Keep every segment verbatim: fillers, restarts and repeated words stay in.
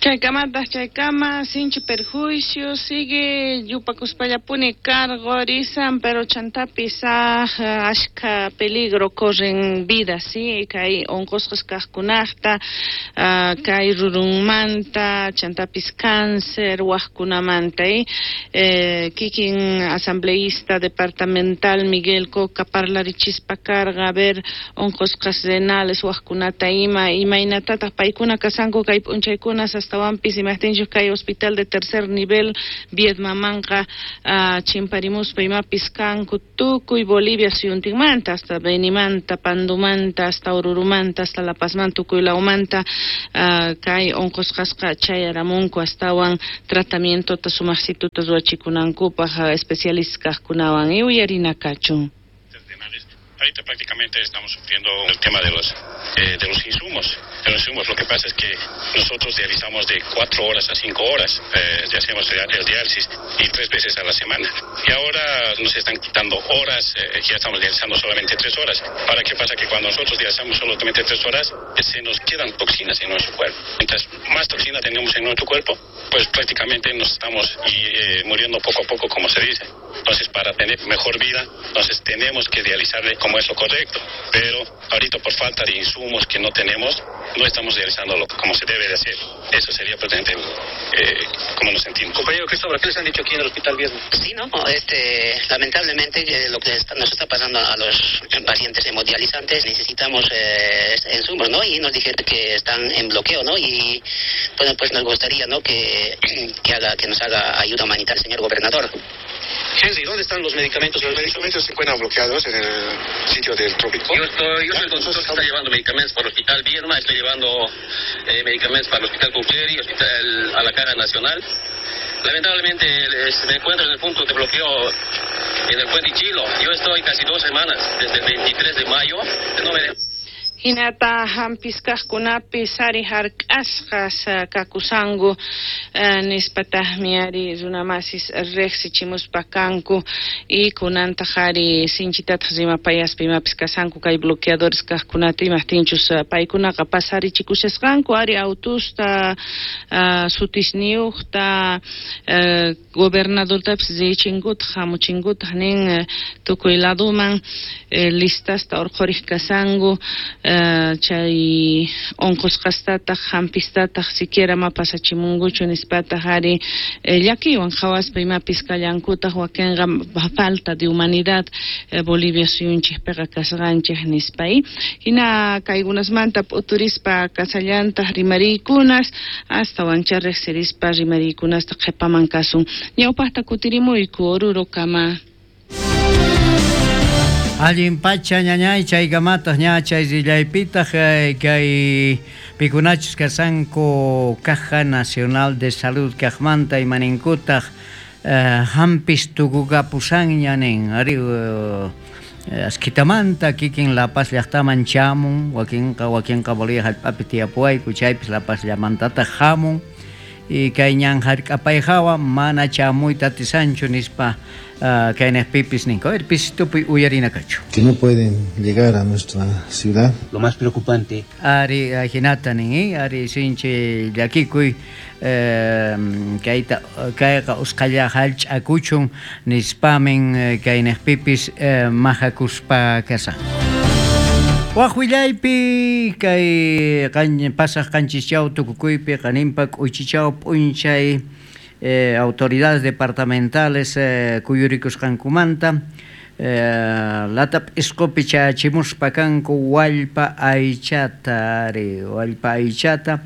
Chaykamataq chaykama sinchi perjuicio sigue yupakuspallapuni cargorisan, pero chantapis ashka peligro corren vidas, sí, kay onqosqas kaqkunaqta, kay rurunmanta, chantapis cáncer waqkunamanta, eh, kikin asambleísta departamental Miguel Coca parlarichispa karqa, a ver, onqosqas renales waqkunata ima, imaynatataq paykuna kasanku kay p'unchaykunas astawanpis imajtinchus kay hospital de tercer nivel Viedmamanqa uh, chimparimuspa imapis kanku tukuy Bolivia suyuntinmanta hasta Benimanta, Pandumanta, hasta Orurumanta, hasta La Pazmanta, tukuy lawmanta uh, kay onqosqasqa chayaramunku astawan tratamientota sumaqsituta ruwachikunankupaq uh, especialistas kaqkunawan y uyarina kachun. Ahorita prácticamente estamos sufriendo el tema de los eh, de los insumos. De los insumos. Lo que pasa es que nosotros dializamos de cuatro horas a cinco horas, eh, ya hacemos el diálisis y tres veces a la semana. Y ahora nos están quitando horas, eh, ya estamos dializando solamente tres horas. Ahora, ¿qué pasa? Que cuando nosotros dializamos solamente tres horas, se nos quedan toxinas en nuestro cuerpo. Mientras más toxina tenemos en nuestro cuerpo, pues prácticamente nos estamos y, eh, muriendo poco a poco, como se dice. Entonces, para tener mejor vida, entonces tenemos que dializarle como es lo correcto, pero ahorita por falta de insumos que no tenemos, no estamos realizándolo como se debe de hacer. Eso sería prácticamente eh, como nos sentimos. Compañero Cristóbal, ¿qué les han dicho aquí en el Hospital Viedma? Sí, no, este, lamentablemente eh, lo que está, nos está pasando a los pacientes hemodializantes, necesitamos eh, insumos, ¿no? Y nos dijeron que están en bloqueo, ¿no? Y bueno, pues nos gustaría, ¿no? Que, que haga, que nos haga ayuda humanitaria el señor gobernador. Henry, ¿dónde están los medicamentos? Los medicamentos se encuentran bloqueados en el sitio del trópico. Yo estoy, yo soy el consultor que está llevando medicamentos para el Hospital Viedma, estoy llevando eh, medicamentos para el Hospital Cucleri, Hospital a la Cara Nacional. Lamentablemente me encuentro en el punto de bloqueo en el Puente Chilo. Yo estoy casi dos semanas, desde el veintitrés de mayo. No me... Hinata hampiskaqkunapis ari hark'asqas kakusanku nispataqmi ari runamasis riqsichimuspa kanku y kunantaq ari sinchitataq rimapayaspa imapis kasanku kay bloqueadores kaqkunata imaqtinchus paykunaqa pasarichikushasqanku ari autusta sutisniyuqta gobernadortapis richinkutaq hamuchinkutaq nin tukuy laduman listasta urqhuriq kasanku chay onqosqastataq hampistataq siquiera ma pasachimunkuchu nispataq ari llakiywan qhawaspa imapis kallankutaq wakinqa falta de humanidad Bolivia suyunchikpiqa kasqanchik nispa. Hina kaykunasmanta p'uturispa kasallantaq rimariykunas astawancha riqsirispa rimariykunasta qhipaman kasun. Ñawpaqta kutirimuyku Orurokama. Allin pacha ñañay chaykamataq ña chay rillaypitaq kay pikunachus kasanku Caja Nacional de Salud kaqmanta imaninkutaq hampis tukukapusanña nin ari askitamanta kikin La Paz llaqtaman chamun wakinqa wakinqa Bolivia hallp'api tiyapuwayku chaypis La Paz llamantataq hamun y kay ñan hark'apayhawa mana chamuyta atisanchu nispa kaynaqpipis ninku. A ver, pisitupi uyarina kachu. Que no pueden llegar a nuestra ciudad. Lo más preocupante. Ari ajinata nin, ari sinchi llakikuy eh, kayta kayqa usqhalla hallch'akuchun nispamin kaynaqpipis eh, majakuspa kasan. Waj willaypi kay pasaq qanchischaw tukukuypi qaninpa k'uychichaw p'unchay eh, autoridades departamentales eh, kuyurikusqankumanta eh, latap isqupi chachimuspa kanku wallpa aychata ari wallpa aychata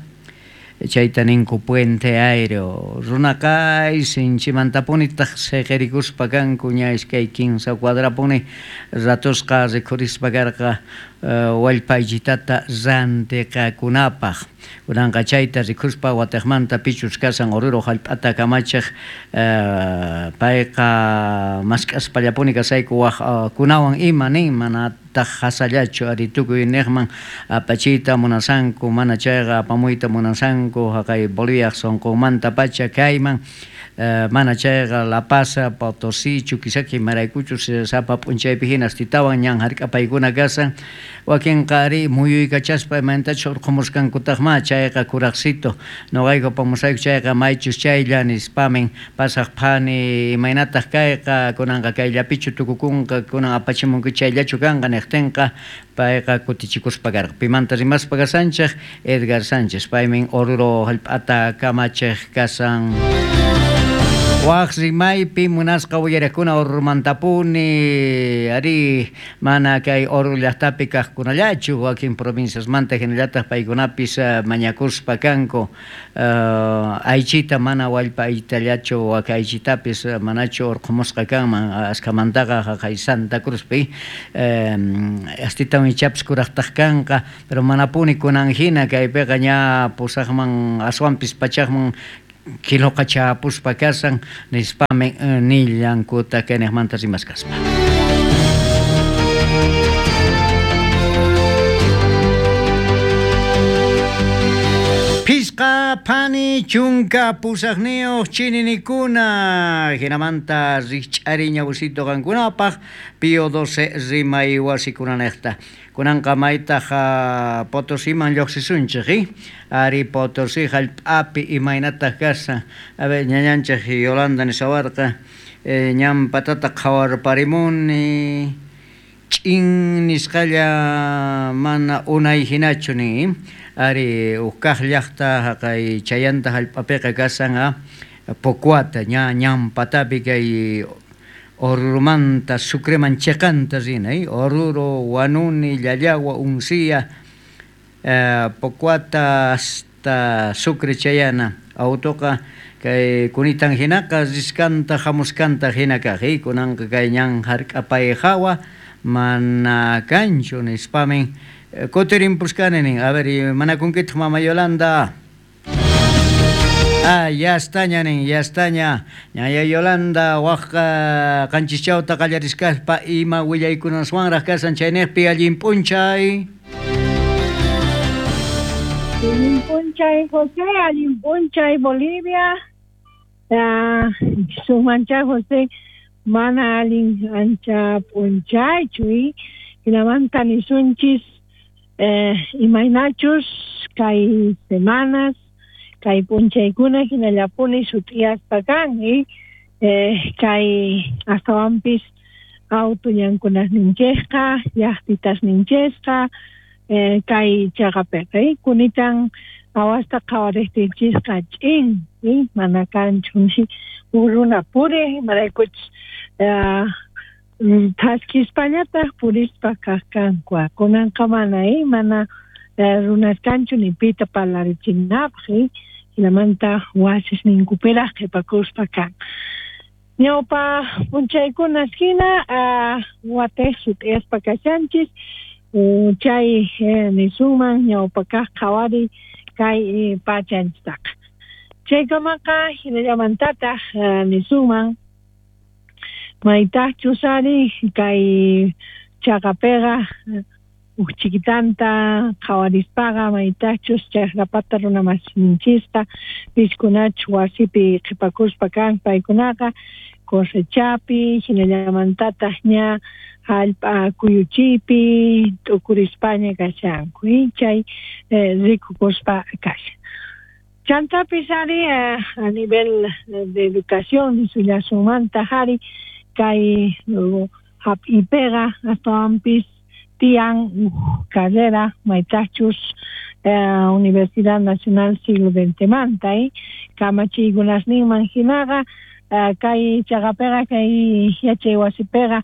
chayta ninku puente aéreo runaqay sinchimantapunitaq siqirikuspa kanku ña iskay kinsa cuadrapuni ratusqa rikhurispa karqa wallpa aychitata rantiqakunapaq kunanqa chayta rikhuspa wataqmanta pichus kasan Oruro hallp'ata kamachiq payqa mask'aspallapuni kasayku waqkunawan ima nin mana Manataq hasallachu ari tukuy niqman apachiyta munasanku, mana chayqa apamuyta munasanku haqay Bolivia sunqunmanta pacha kayman. Uh, mana chayqa La Paz, Potosí, Chuquisaca imaraykuchus sapa p'unchaypi hina astitawan ñan hark'apaykuna kasan. Wakinqa ari muyuykachaspa imaynatachus urqhumusqankutaqma chayqa kuraqsito noqayku apamusayku chayqa maychus chaylla nispamin pasaq phani imaynataq kayqa kunanqa kayllapichu tukukunqa kunan apachimunki chayllachu kanqa niqtinqa payqa kutichikuspa karqa. Pimanta rimaspa kasanchik Edgar Sánchez paymin Oruro hallp'ata kamachiq kasan. Waq rimaypi munasqa uyarakuna Orurumantapuni ari mana kay Oruro llaqtapi kaqkunallachu wakin provinciasmanta hinallataq paykunapis mañakuspa kanku uh, aychita mana wallpa aytallachu wak aychitapis manachu urqhumusqa kanman askamantaqa haqay Santa Cruzpi um, astitawan ichapis kuraqtaq kanqa pero manapuni kunan hina kaypiqa ña pusaqman aswanpis pachaqman kiloqa chapuspa kasan nispamin nillankuta kayniqmanta rimaskaspa. Pisqa phani chunka pusaqniyuq chininikuna hinamanta rikch'ari ñawsito qankunapaq Pío doce rimay wasikunanejta. Kunanqa maytaq Potosiman lluqsisunchik, eh? Ari Potosí hallp'api imaynataq kasan. A ver, ñañanchik Yolanda nisawarqa eh, ñan patata qhawarparimuni ch'in nisqalla mana unay hinachu nin. Ari ukkaq llaqta haqay chayanta hallp'apiqa kasan a Pocuata ña ñan patapi kay Orurumanta Sucreman chiqanta rina, eh? Oruro, Huanuni, Llallagua, Uncía, eh, Pocuata hasta Sucre chayana. Autoqa kay kunitan hinaqa riskanta hamuskanta hina kaq, eh? Kunanqa kay ñan hark'apay hawa mana kanchu nispamin kutirinpuskani nin. A ver, manakunkitaq mama Yolanda. Ah, ya estaña nin, ya estaña. Ñaya Yolanda, waqqa qanchischawta qallariskaspa ima willaykunaswanraq kasan chayniqpi allin p'unchay. Allin p'unchay José, allin p'unchay Bolivia. Ah, sumanchay José, mana allin ancha p'unchaychu y hinamanta nisunchis eh, imaynachus kay semanas kay p'unchaykuna hinallapuni sut'iyaspa kan y eh, kay astawanpis auto ñankunasninchikqa llaqtitasninchikqa eh, kay chaqapiqa y kunitan awasta qhawariqtinchisqa ch'in y mana kanchu ni huk runa puriq imaraykuchus eh, thaskispañataq purispa kaq kanku kunanqa mana y mana runas kanchu ni pita parlarichinapaq y hinamanta wasisninkupiraq qhipakuspa kan. Ñawpa p'unchaykunas hina uh, watej sut'iyaspa kashanchis chay eh, nisunman ñawpa kaq qhawari kay eh, pachanchistaqa. Chaykamaqa hinallamantataq uh, nisunman maytaqchus ari kay chaqapiqa uh, uchikitanta qhawarispaqa maytachus chaqrapata runamasinchista piskunachus wasipi qhipakuspa kan paykunaqa cosechapi hinallamantataq ña hallp'a kuyuchiypi t'ukurispaña kashanku y chay eh, rikukuspa kashan. Chantapis ari eh, a nivel de educación nisullasunmanta ari kay uh, hap'ipiqa astawanpis tian uh, carrera maytachus eh, Universidad Nacional Siglo veinte manta eh, kamachiykunasninman hinaqa eh, kay chaqapiqa kay yachay wasipiqa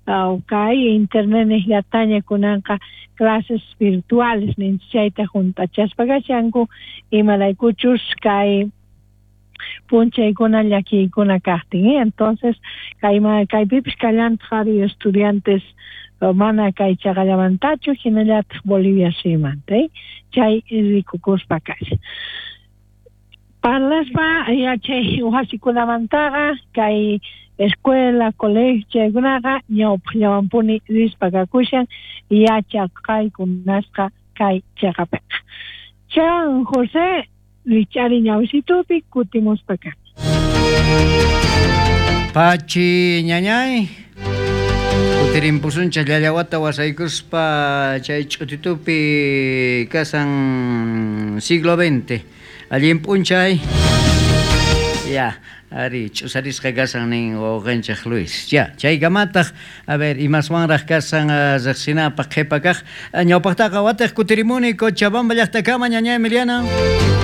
uh, kay internet niqllataña kunanqa clases virtuales ninchik chayta hunt'achaspa kashanku imaraykuchus kay p'unchaykuna llakiykuna kaqtin eh? Entonces kay kaypipis kallantaq ari estudiantes mana kay chaqallamantachu hinallataq Bolivia suyumanta eh? Chay rikukuspa kashan. Parlaspa yachay wasikunamantaqa kay Escuela, colegio chaykunaqa ñawpaqllawanpuni rispa kakushan yachaqaykunasqa kay chaqapiqa. Chan José richari ñawisitupi kutimuspa kan. Pachi ñañay kutirimpusunchik llallawata wasaykuspa chay ch'utitupi kasan siglo veinte allin p'unchay ya ari ch'usarisqa kasan nin wawqinchik Luis ya chaykamataq a ver imaswanraq kasan riqsinapaq qhipa kaq ñawpaqtaqa wataq kutirimuni Cochabamba llaqtakama ñañay Emiliana.